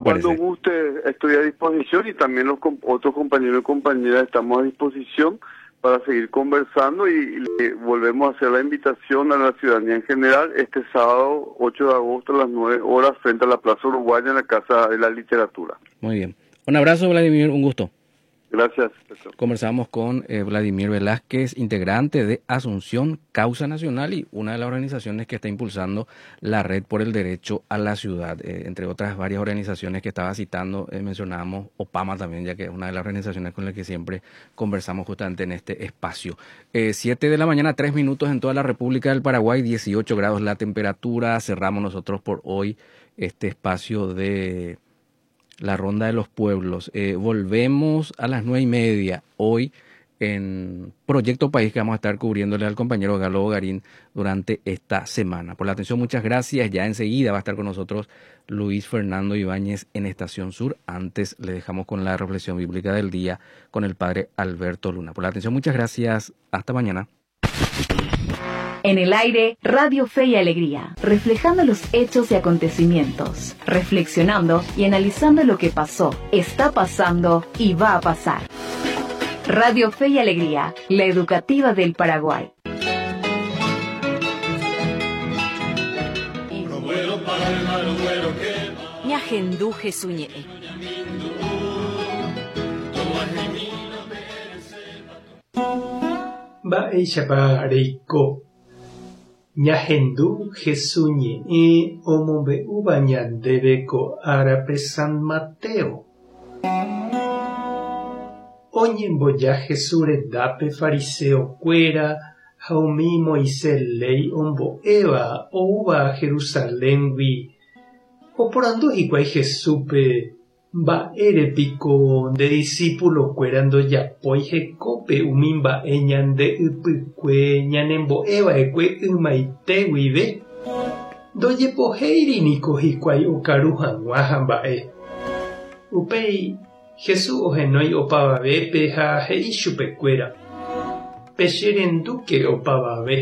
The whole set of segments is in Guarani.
parece? Cuando guste, estoy a disposición y también los otros compañeros y compañeras estamos a disposición para seguir conversando y le volvemos a hacer la invitación a la ciudadanía en general este sábado 8 de agosto a las 9 horas frente a la Plaza Uruguaya en la Casa de la Literatura. Muy bien. Un abrazo, Vladimir, un gusto. Gracias. Conversamos con eh, Vladimir Velázquez, integrante de Asunción Causa Nacional y una de las organizaciones que está impulsando la Red por el Derecho a la Ciudad. Eh, entre otras varias organizaciones que estaba citando, eh, mencionábamos OPAMA también, ya que es una de las organizaciones con las que siempre conversamos justamente en este espacio. 7 de la mañana, 3 minutos en toda la República del Paraguay, 18 grados la temperatura. Cerramos nosotros por hoy este espacio de la Ronda de los Pueblos. Eh, volvemos a las 9:30 hoy en Proyecto País que vamos a estar cubriéndole al compañero Galo Garín durante esta semana. Por la atención, muchas gracias. Ya enseguida va a estar con nosotros Luis Fernando Ibáñez en Estación Sur. Antes le dejamos con la reflexión bíblica del día con el padre Alberto Luna. Por la atención, muchas gracias. Hasta mañana. En el aire, Radio Fe y Alegría, reflejando los hechos y acontecimientos, reflexionando y analizando lo que pasó, está pasando y va a pasar. Radio Fe y Alegría, la educativa del Paraguay. Ñahendu Jesús ñe'ẽ. Mba'éichapa reiko. Ñahendu Hesu ñe'ẽ omombe'úva ñandéve ko árape San Mateo. Oñemboja Hesu rendápe fariseo kuéra ha umi Moisés léi ombo'éva oúva Jerusaléngui. Oporandu hikuái Jesúspe, Mba'ére piko nde disípulokuéra ndojapói hekópe umi mba'e ñande ypykue ñanembo'e va'ekue ymaite guive? Ndojepohéiri niko hikuái okaru hag̃ua ha mba'e. Upéi Jesús ohenói opavavépe ha he'i chupekuéra, Pecherendúke opavave,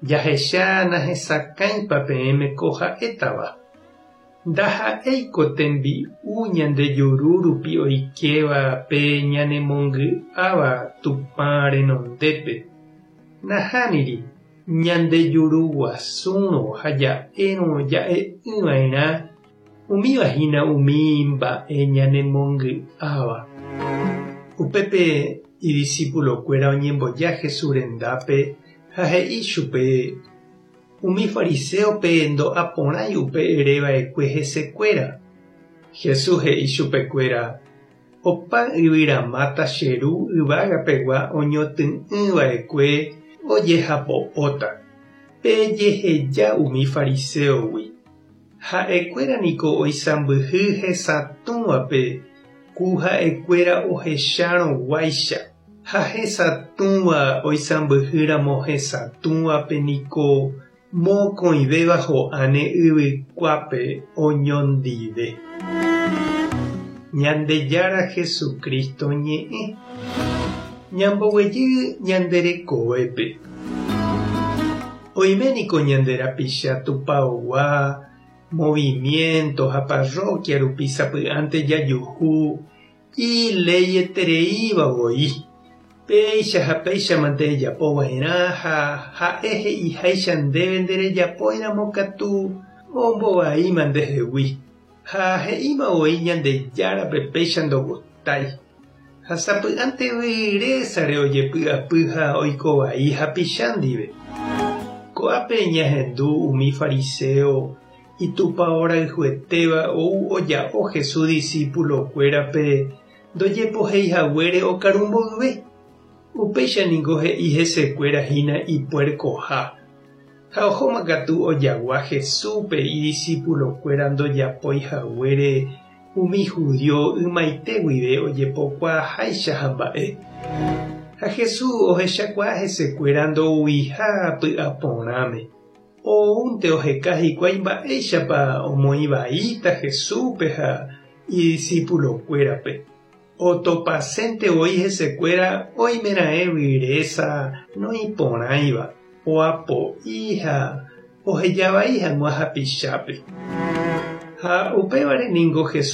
jahecha nahesakãipa peẽme ko ha'étava. Ndaha'éiko tembi'u ñande juru rupi oikéva pe ñanemongy'áva Tupã renondépe. Nahániri, ñande juru guasúrõ ha ja'érõ ja'e'ỹva'erã, umíva hína umi mba'e ñanemongy'áva. Upépe idisípulokuéra oñemboja Jesús rendápe ha he'i chupe, Umi fariséope ndo'a porãi upe ere va'ekue hesekuéra. Jesús he'i chupekuéra, Opa yvyramáta che Ru yvága pegua oñotỹ'ỹ va'ekue ojehapo'óta. Pejeheja umi fariséogui. Ha'ekuéra niko oisãmbyhy hesatũvape ku ha'ekuéra ohechárõ guáicha. Ha hesatũva oisãmbyhýramo hesatũvape niko mokõivéva ho'áne yvykuápe oñondive. Ñandejára Jesucristo ñe'ẽ. Ñamboguejy ñande rekovépe. Oime niko ñande rapicha tupaogua, movimiento ha parroquia rupi sapy'ánte jajuhu Ileietereíva voi. Péicha ha péichamante ejapo va'erã ha ha'e he'iháicha ndéve nderejapóiramo katu ombovaíma ndehegui. Ha he'íma voi Ñandejárape péicha ndogustái. Ha sapy'ánte vyrésare ojepy'apy ha oiko vai hapicha ndive. Ko'ápe ñahendu umi fariséo Itupao rayhuetéva ou oja'o Jesús disípulo-kuérape ndojepohéi haguére okaru mboyve. Upéicha ningo he'i hesekuéra hína ipuerkoha. Ha ohóma katu ojagua Jesúspe idisípulo-kuéra ndojapói haguére umi hudío ymaite guive ojepokuaaháicha hamba'e. Ha Jesús ohechakuaa hesekuéra ndouiha py'aporãme. Oúnte oheka hikuái mba'éichapa omoĩ vaíta Jesúspe ha idisipulokuérape. Otopasénte voi hesekuéra oimeraẽ vyrésa noĩporãiva, oapo'i ha oheja vai hag̃ua hapichápe. Ha upévare ningo Jesús.